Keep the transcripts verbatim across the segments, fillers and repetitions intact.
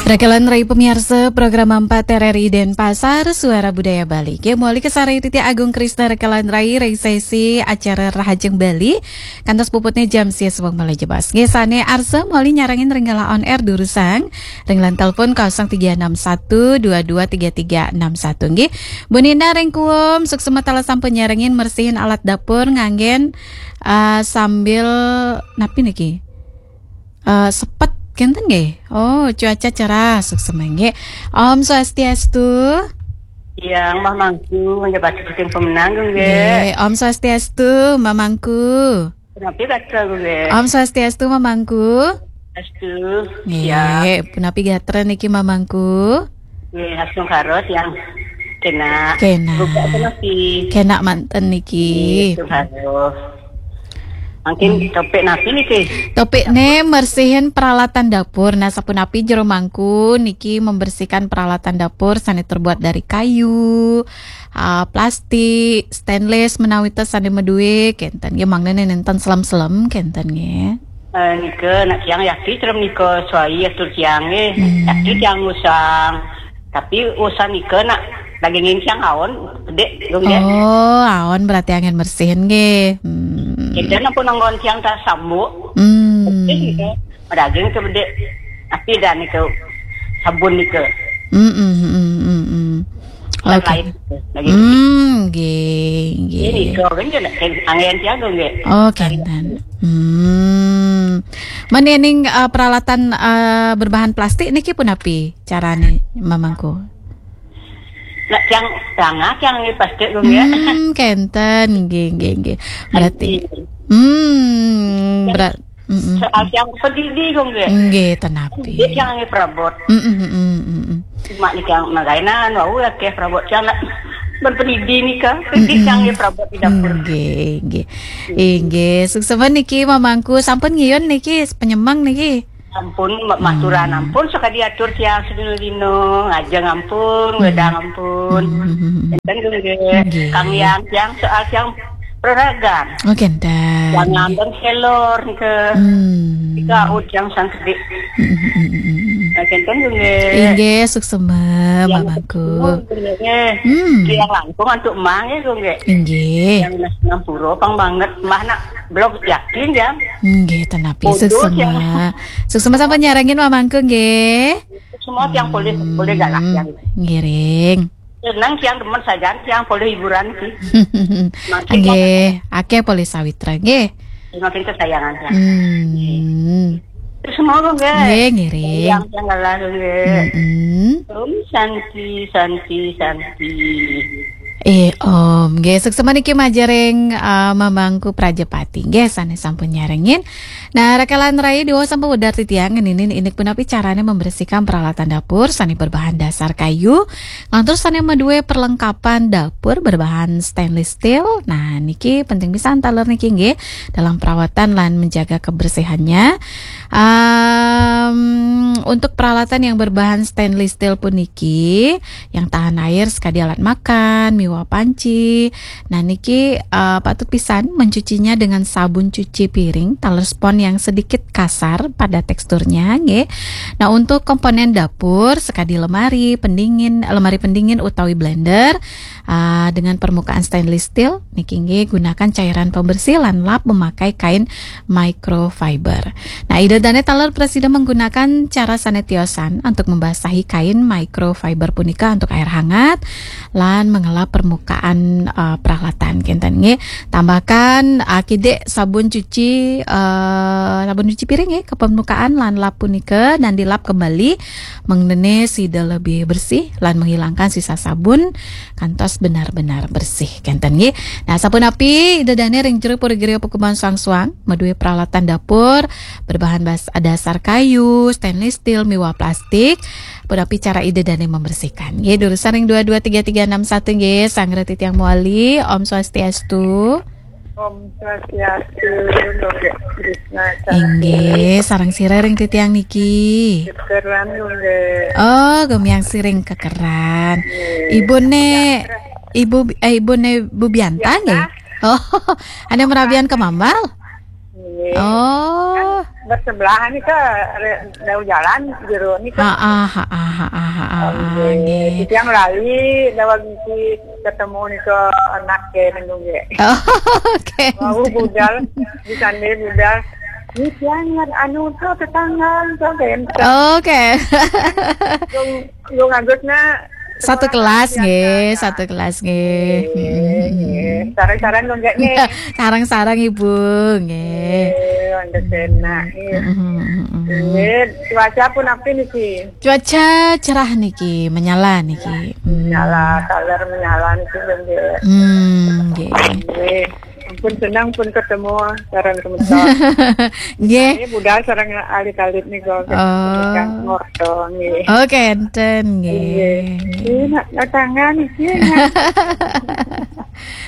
Rakalan rai pamiarsa program empat R R I Denpasar, Suara Budaya Bali. Nggih, mawali kasarengin titiang Agung Krisna rakalan rai ring sesi acara Rahajeng Bali. Kantos puputnya jam sia suwung malih jebos. Nggih, sane arsa mawali nyarengin ring galah on air durusang ring line telepon kosong tiga enam satu dua dua tiga tiga enam satu. Nggih, Bu Nina ring Kuum, suksma taler sampun nyarengin mersihin alat dapur nganggen, eh, sambil napi niki? Eh, sepet kenten nggih. Oh, cuaca cerah, suksma nggih. Om Swastiastu. Yang Mbah Mangku, menjabat seperti pemenang nggih. Nggih, Om Swastiastu, Mbah Mangku. Punapi gatra nggih. Om Swastiastu, Mbah Mangku. Astu. Nggih, ya. Punapi gatra niki, Mbah Mangku? Nggih, asung karos yang kena. Kena. Buka punapi. Kena manten niki. Nggih, asung karos. Mungkin topik napi niki? Topikne mersihin peralatan dapur. Nah, sapunapi Jero Mangku niki membersihkan peralatan dapur sane terbuat dari kayu, ah, plastik, stainless, menawi ten sane madue, kenten. Ya, mangdane nenten selem-selem, kenten nggih. Eh, nika nak tiang yaki celem nika suai atur tiang nggih. Hmm. Yaki tiang usang. Tapi usang nika nak dagingin tiang aon, gede, dong nggih. Oh, aon berarti angin mersihin nggih. Hmm. Kita nak pun anggon tiang tak sambuk. Hmm. Gede nika. Daging ke gede. Tapi dah nika sabun nika. Hmm, hmm, hmm, hmm, hmm. Dan oke. Lain lagi. Hmm, nggih, nggih. Ini kau kan je nak angin tiang dong nggih. Oh, kenten. Hmm. Menening, eh, peralatan, eh, berbahan plastik niki punapi carane, Mbah Mangku? Nak tiang tangah tiang nggih plastik dong nggih. Hmm, kenten, nggih, nggih, nggih. Berarti, hmm, berat. Mm-mm. Soal tiang pedidi dong nggih. Nggih, tenapi. Dia tiang nggih perabot. Mm-mm, mm-mm, mm-mm. Cuma ni tiang magainan, wau akeh perabot tiang nak berpedidi nika. Pedidi tiang nggih perabot di dapur. Nggih, nggih. Inggih, suksma niki Mbah Mangku, sampun ngiyun niki penyemang niki. Ampun, ma-, maturan ampun sakadi atur tiang sedina-dina, ngajeng ampun, wedang ampun. Hmm. Enten nggih. Nggih. Kang yang tiang soal tiang peraragan. Oh, kenten. Yang ngambeng selor ke. Hmm. Tiga ud yang sangkedi. Hmm, hmm, hmm, hmm, hmm. Nah, kenten nggih. Inggih, suksma, Mbah Mangku. Nggih. Hmm. Tiang langkung antuk Mbah nggih, nggih. Inggih. Yang nas-, nampura pang banget. Mbah nak blog yakin ya. Nggih, tenapi. Bodoh, suksma. Yang suksma sampun nyarengin Mbah Mangku nggih. Semua tiang polih, polih galak tiang. Ngiring. Senang tiang demen sajan tiang polih hiburan sih. Makin nggih, akeh polih sawitra nggih. Makin kesayangan tiang. Hmm. Terus mau nggih. Nggih, ngiring. Tiang, tiang galak nggih. Mm-mm. Om Santi, Santi, Santi. Eh, Om, nggih, suksma niki majeng ring, eh, Mbah Mangku Prajapati. Nggih, sane sampun nyarengin. Nah, rakalan rai diwasa sampun wedar titiang ngeninin indik punapi carane membersihkan peralatan dapur sane berbahan dasar kayu, lan terus sane madue perlengkapan dapur berbahan stainless steel. Nah, niki penting pisan taler niki nggih dalam perawatan lan menjaga kebersihannya. Em, untuk peralatan yang berbahan stainless steel puniki, yang tahan air sekadi alat makan, miwah panci. Nah, niki, eh, patut pisan mencucinya dengan sabun cuci piring, taler spons yang sedikit kasar pada teksturnya, nggih. Nah, untuk komponen dapur sekadi lemari, pendingin, lemari pendingin utawi blender, ah, dengan permukaan stainless steel, niki nggih gunakan cairan pembersih lan lap memakai kain microfiber. Nah, Ida Dane taler prasida menggunakan cara sane tiosan untuk membasahi kain microfiber punika untuk air hangat lan mengelap permukaan, eh, peralatan kenten nggih. Tambahkan, eh, kidik sabun cuci, eh, sabun cuci piring nggih ke permukaan lan lap punika dan dilap kembali mangdane sida lebih bersih lan menghilangkan sisa sabun kantos benar-benar bersih kenten nggih. Nah, sapunapi Ida Dane ring jero pura griya pakubuhan suang-suang madue peralatan dapur berbahan bas-, dasar kayu, stainless steel miwah plastik, punapi cara Ida Dane membersihkan. Nggih, durusang ring dua dua tiga tiga enam satu nggih, sareng titiang mawali. Om Swastiastu. Om Swastiastu, Nggih, sareng sira ring titiang niki. Kekeran nggih. Oh, gemiang siring kekeran. Nggih. Ibune, ibu, eh, ibune Bu Bianta nggih? Oh, ane merabian ke Mambal? Nggih. Oh. bersebelahan nih ke re-, jauh jalan jero nih ke. Ah, ah, ah, ah, ah, ah, ah, ah, Oke, nggih. Titiang lali, lewat misi ketemu nih ke anak ke nenggung ya. Oke. Mau budal, di sana budal. Ini tiang ingat anu tuh tetangga tuh kayak Oke. Lu, lu ngagusnya Satu sekolah kelas kan, nggih, ya. Satu kelas nggih. Nggih, Mm-mm. Nggih. Sarang-sarang lu enggak nih? Sarang-sarang Ibu, nggih. Nggih, wanda kena, nggih. Mm-mm, mm-mm. Nggih, cuaca pun apa nih, Ki? Cuaca cerah niki, menyala niki. Hmm. Menyala, taler menyala niki, nggih. Hmm, nggih. Nggih. Ampun senang pun ketemu sareng semeton. Nggih. Ini budal sareng alit-alit nih kok. Oh. Kang Morto, nggih. Oh, kenten, nggih. Nggih. Ini nak, nak tangan, nggih, nak.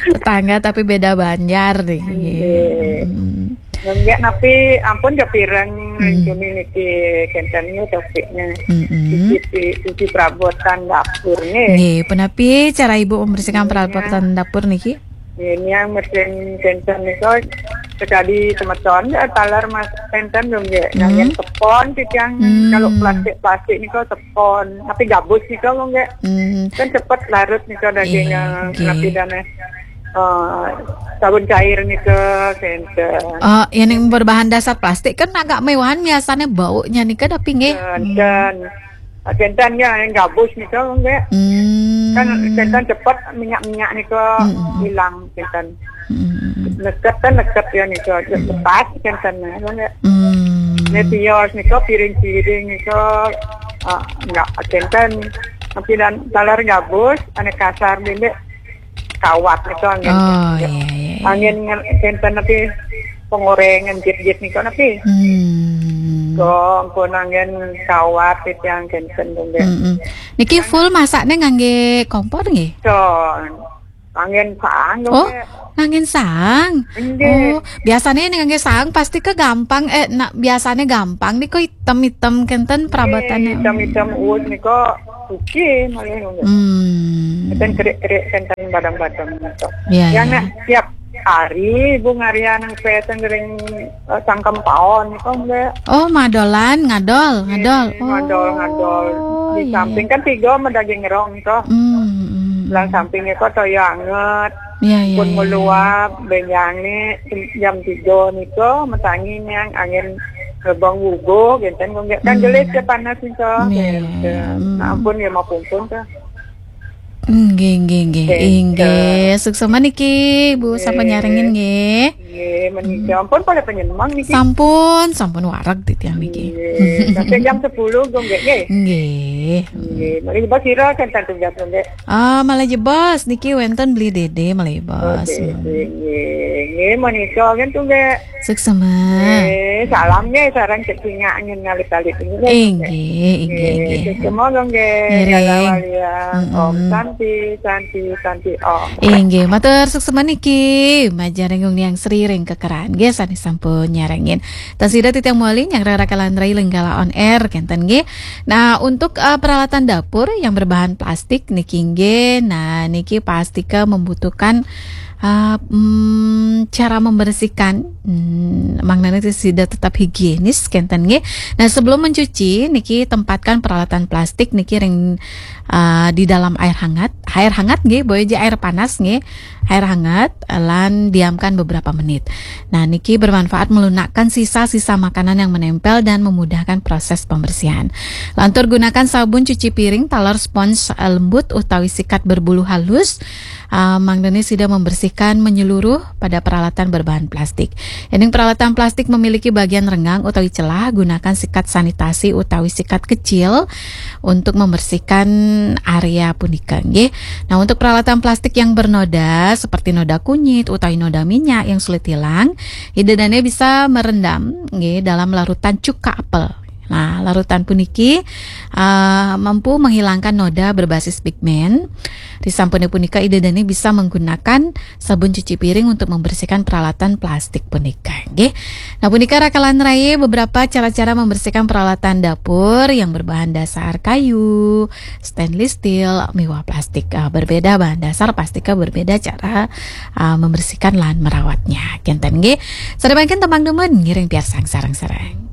Tetangga tapi beda banjar nih. Nggih. Nggih. Hmm. Nggih, tapi ampun jepireng Hmm. Juni niki kenten nih topiknya. Mm-mm. Sisi, sisi perabotan dapur nih. Nggih, punapi cara Ibu membersihkan Nggih. Perabotan dapur niki? Ini yang mesin kenten nih kok sekali semeton ya taler mas kenten dong ya. Yang Hmm. Sepon sih yang Hmm. kalau plastik-plastik nih kok sepon. Tapi gabus nih kok nggak. Hmm. Kan cepet larut nih kok dagingnya Iya, nggih. Tapi dana eh, sabun cair nih ke kenten. Oh, yang berbahan dasar plastik kan agak mewahan biasanya baunya nih kan tapi nggih. Kenten. Ah, kenten ya yang gabus nih ke nggih. Hmm. Kan kenten cepet minyak-minyak nih ke Hmm. Hilang kenten. Hmm. Neket kan neket ya nih ke Hmm. Lepas kenten ya nggih. Hmm. Ini tios nih ke piring-piring nih ke ah, enggak kenten. Tapi dan taler gabus, ane kasar dindek kawat nih ke angin. Oh, iya, iya, iya. Angin nge-, kenten tapi pengorengan jit-jit nih kok tapi. Hmm. Kok ampun angin kawat itu yang kenten dindek. Mm-mm. Niki full masaknya ngangge kompor nggih? So, angin sang Oh, dong, ya. Ngangin sang. Nggih. Oh, biasanya ini ngangge sang pasti ke gampang eh nak biasanya gampang nih kok hitam-hitam kenten perabotannya. Nggih, hitam-hitam uus nih kok suci malah nggih. Hmm. Kenten kerik-kerik kenten badang-badang gitu. Iya, yang iya. Nak tiap hari Ibu ngarian yang keten ring eh, sangkem paon nih kok nggih. Oh, madolan, ngadol, ngadol. Nggih, ngadol, ngadol. Oh, di iya, samping iya. Kan tiga sama daging rong nih kok. Hmm, hmm, hmm. Belah sampingnya kok toyo anget. Iya, iya, pun iya, meluap, iya. Benjang nih jam tiga nih kok, metangi nih yang angin gerbang wugo, genten kok nggak kan hmm. Jelas ya panas nih kok. Iya, iya, iya. Hmm. Nah, ampun ya mau pungkun tuh. Nggih, nggih, nggih. Nggih, inggih. Suksema niki, Bu, sampun nyarengin nggih. Nggih, menika ampun pada penyemang niki. Sampun, sampun wareg titiang niki. Nggih, sampai jam sepuluh kok nggih, nggih. Nggih. Nggih, mari jebos sira kan tentu jam nggih. Ah, malah jebos niki wenten beli dede malah jebos. Nggih, nggih, nggih, menika kan tuh nggih. Suksema. Eh, salam nggih, sareng cek singak angin ngalit-alit nggih. Inggih, inggih, inggih. Suksema dong nggih. Ngiring. Gala walian. Mm-mm. Om Santi, Santi, Santi Om. Inggih, matur suksema niki. Majaring Gung Niang Sri ring kekeran nggih sane sampun nyarengin. Tasida titiang moli nyang rara kalan rai lenggala on air kenten nggih. Nah, untuk eh, peralatan dapur yang berbahan plastik niki nggih. Nah, niki plastika membutuhkan Ah, mm, cara membersihkan, mm, mangnane sida tetap higienis kenten nggih. Nah, sebelum mencuci niki tempatkan peralatan plastik niki ring ah, di dalam air hangat. Air hangat nggih, boya aja air panas nggih. Air hangat lan diamkan beberapa menit. Nah, niki bermanfaat melunakkan sisa-sisa makanan yang menempel dan memudahkan proses pembersihan. Lantur gunakan sabun cuci piring taler spons lembut utawi sikat berbulu halus. Ah, mangdane sida membersihkan menyeluruh pada peralatan berbahan plastik. Yen peralatan plastik memiliki bagian renggang utawi celah, gunakan sikat sanitasi utawi sikat kecil untuk membersihkan area punika nggih. Nah, untuk peralatan plastik yang bernoda seperti noda kunyit utawi noda minyak yang sulit hilang, ida dane bisa merendam nggih dalam larutan cuka apel. Nah, larutan puniki ah, mampu menghilangkan noda berbasis pigmen. Disampune punika ida dane bisa menggunakan sabun cuci piring untuk membersihkan peralatan plastik punika nggih. Nah, punika rakalan raya beberapa cara-cara membersihkan peralatan dapur yang berbahan dasar kayu, stainless steel, miwah plastik. Ah, berbeda bahan dasar plastika berbeda cara ah, membersihkan lan merawatnya. Kenten nggih. Sare mangkin tembang dumun ngiring piarsang sareng-sareng.